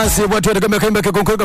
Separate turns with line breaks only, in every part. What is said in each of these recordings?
Bwatwetekaimbekekonkoga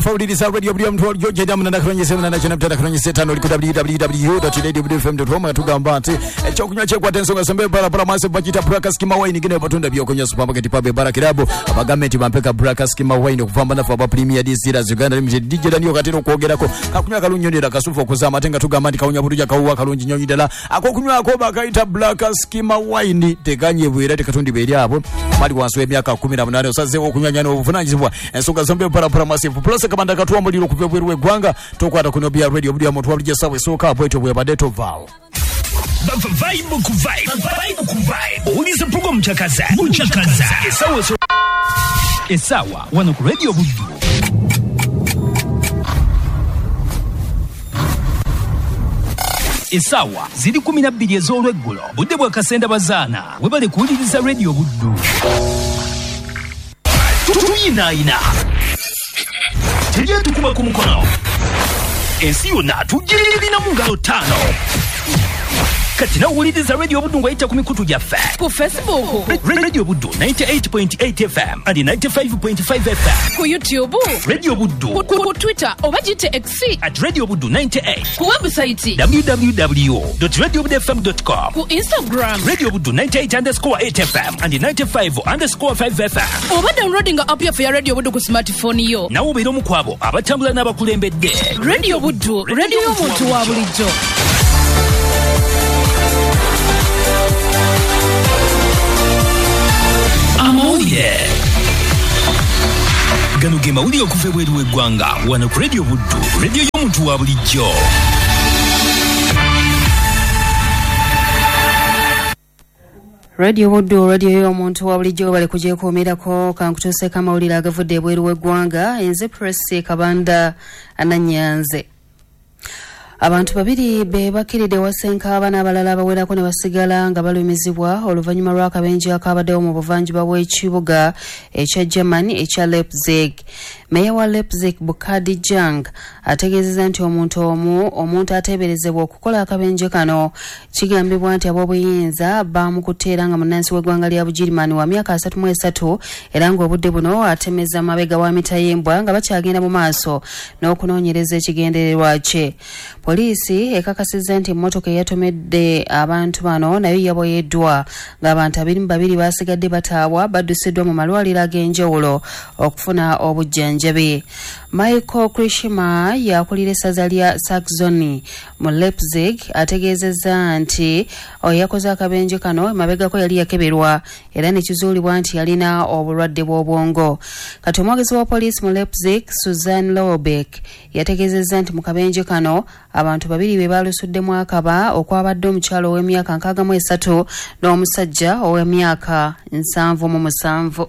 radio buli omuntu olyojeda munana katonyesa munana kyenda mutanda katonyesa etaano oli ku www.radiofm.com tugamba nti ekyokunywa kyekwata ensonga sembe barabara maaso bakiyita Braka Skima Wine gino batunda byokunywa supermarket pub ebara kirabu abagambe nti bampeka Braka Skima Wine okuvamba naffe aba Premier Distillers Uganda Limited DJ Daniel katera okwogerako kakunywa kalungi nnyo kasufu okuzaama ate nga tugamba nti kawunya bulungi akawuwa kalungi nnyo ddala akokunywako bakayita Braka Skima Wine tekanyebwa era tekatundibwa eri abo bali wansi w'emyaka 18 osazeewo okunywanya n'obuvunaanyizibwa ensonga zombi parapara masifu plus kabanda katuwa muliro okuva ebweru w'eggwanga tokwata kuno bya radio buli omuntu wabulijjo essaawa esooka bwetyo bwebadde tovaawo.
Vibe ku vibe, vibe ku vibe. Owuliza program Muchakaza, Muchakaza. Essaawa essaawa wano ku Radio Buddu. Essaawa ziri 12 ez'olweggulo. Budde bwa Kasenda Bazaana. Webale kuwuliriza Radio Buddu. Tuyinaayina. Tejja tukuba ku mukono. Ensi yonna tugirina mu ngalo ttaano. Kati nawuliriza Radio Buddu ng'oyita ku mikutu gyaffe.
Ku Facebook.
Radio Buddu 98.8 FM and 95.5 FM.
Ku YouTube.
Radio Buddu.
Ku Twitter oba giyite X.
At Radio Buddu 98.
Ku website.
www.radiobudufm.com.
Ku Instagram.
Radio Buddu 98_8 FM and 95_5 FM.
Oba downloading app yaffe ya Radio Buddu ku smartphone yo.
Nawe obeera omu ku abo abatambula n'abakulembedde.
Radio Buddu, radio y'omuntu wa bulijjo.
Amawulire gano ge mawulire okuva ebweru w'eggwanga wano ku Radio Buddu, radio y'omuntu wa bulijjo.
Radio Buddu, radio y'omuntu wa bulijjo bali kugyekuumirako kankutuuseeko amawulire agavudde ebweru w'eggwanga. Enze Press Kabanda Ananyanze. Abantu babiri be bakiridde wasenka n'abalala abawerako ne basigala nga balumizibwa oluvannyuma lw'akabenje akabaddewo mu buvanjuba bw'ekibuga ekya Germany ekya Leipzig. Meya wa Leipzig Bukadi Jang ategeezezza nti omuntu omu omuntu ateeberezebwa okukola akabenje kano kigambibwa nti ab'obuyinza baamukutte era nga munnansi w'eggwanga lya Bugirimaani wa myaka 33 era ng'obudde buno atemeza mabega wa mitayimbwa nga bakyagenda mu maaso n'okunoonyereza ekigendererwa kye. Poliisi ekakasizza nti emmotoka eyatomedde abantu bano nayo yaboyeddwa ng'abantu 22 basigadde bataabwa baddusiddwa mu malwaliro ag'enjawulo okufuna obujjanjabi. Michael Krishima yakulira essaza lya Saxony mu Leipzig ategeezezza nti oyo yakoze akabenje kano emabegako yali yakeberwa era ne kizuulibwa nti yalina obulwadde bw'obwongo. Kati omwogezi wa poliisi mu Leipzig Susan Lobeck yategeezezza nti mu kabenje kano abantu babiri be balusuddemu akaba okwabadde omukyalo ow'emyaka 63 n'omusajja ow'emyaka 77.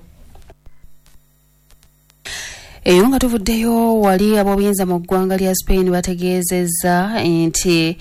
Eyo nga tuvuddeyo wali ab'obuyinza mu ggwanga lya Spain bategeezezza nti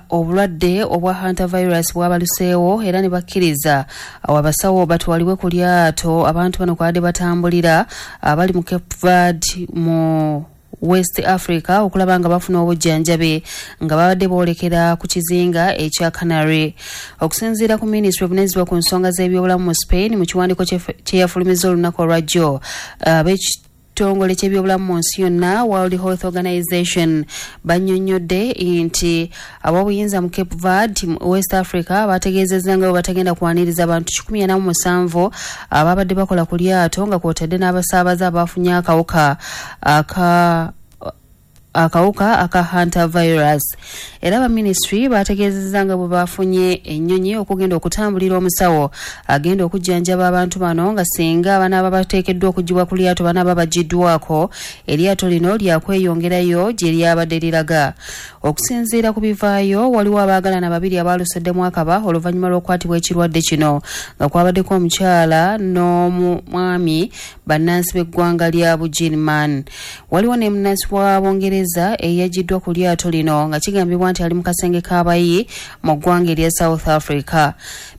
obulwadde obwa hantavirus bwabaluseewo era ne bakkiriza abasawo batwalibwe ku lyato abantu bano kwabadde batambulira abali mu Cape Verde mu West Africa okulaba nga bafuna obujjanjabi nga babadde boolekera ku kizinga ekya Canary. Okusinziira ku minisitule evunaanyizibwa ku nsonga z'ebyobulamu mu Spain mu kiwandiiko kye yafulumizza olunaku olwajjo ab'ekitongole ky'ebyobulamu mu nsi yonna World Health Organization bannyonnyodde nti ab'obuyinza mu Cape Verde West Africa bategeezezza nga bwe batagenda kwaniriza abantu 147 ababadde bakola ku lyato nga kwotadde n'abasaabaze abafunye akawuka aka hantavirus. Era ba ministry bategeezezza nga bwe bafunye ennyonyi okugenda okutambulira omusawo agenda okujjanjaba abantu bano nga singa banaaba bateekeddwa okuggyibwa ku lyato banaaba baggiddwako eryato lino lyakweyongerayo gye lyabadde liraga. Okusinziira ku bivaayo waliwo abaagalana babiri abaaluseddemu akaba oluvannyuma lw'okukwatibwa ekirwadde kino nga kwabaddeko omukyala n'omwami bannansi b'eggwanga lya Bugirimaani. Waliwo ne munnansi wa Bungereza eyaggiddwa ku lyato lino nga kigambibwa nti ali mu kasenge k'abayi mu ggwanga erya South Africa.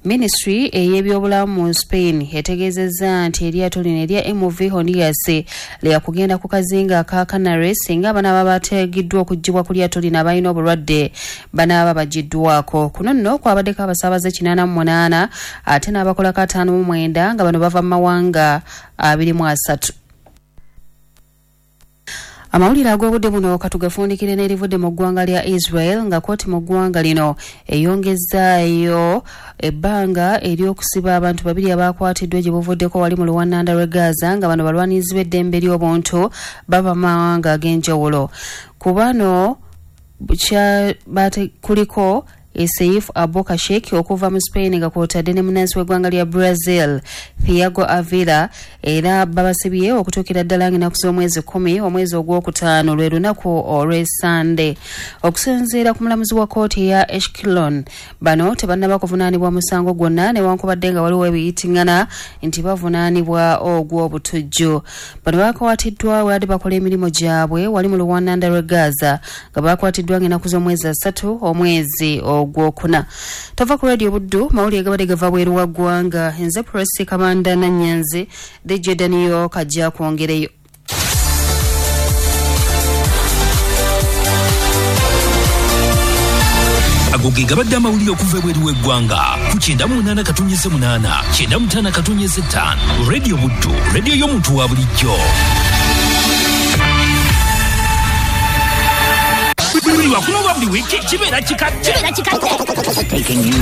Ministry ey'ebyobulamu mu Spain etegeezezza nti eryato lino erya MV Hondias lyakugenda ku kazinga aka Canary singa banaaba bateegiddwa okuggyibwa ku lyato lino abalina obulwadde banaaba baggiddwako. Kuno nno kwabaddeko abasaabaze 88 ate n'abakolako 59 nga bano bava mu mawanga 23. Amawulire ag'obudde buno katugafundikire n'erivudde mu ggwanga lya Israel, nga kkooti mu ggwanga lino eyongezaayo ebbanga ery'okusiba abantu babiri abakwatiddwa gye buvuddeko wali mu luwananda lw'e Gaza, nga bano balwanirizi b'eddembe ly'obuntu bava mu mawanga ag'enjawulo. Ku bano kuliko Seif Abokashek okuva mu Spain, nga kwotadde ne munnansi w'eggwanga lya Brazil Thiago Avila, era babasibye okutuukira ddala ng'ennaku z'omwezi 10 omwezi ogwokutaano, lwe lunaku olw'Essande. Okusinziira ku mulamuzi wa kkooti eya Ashkelon, bano tebannaba kuvunaanibwa musango gwonna, newankubadde nga waliwo ebiyitiŋŋana nti bavunaanibwa ogw'obutujju. Bano bakwatiddwa wadde bakola emirimu gyabwe wali mu luwananda lw'e Gaza, nga bakwatiddwa ng'ennaku z'omwezi 3 omwezi ogwokuna. Tova ku Radio Buddu, mawulire gabadde gava bweru wa ggwanga. Nze Prosi Kabanda Nanyanzi, DJ Daniel kajja kwongereyo.
Ago ge gabadde amawulire okuva ebweru w'eggwanga ku 98.8 95.5 Radio Buddu, radio y'omuntu wa bulijjo. Buli lwakuna olwa buli wiiki kibeera kikadde.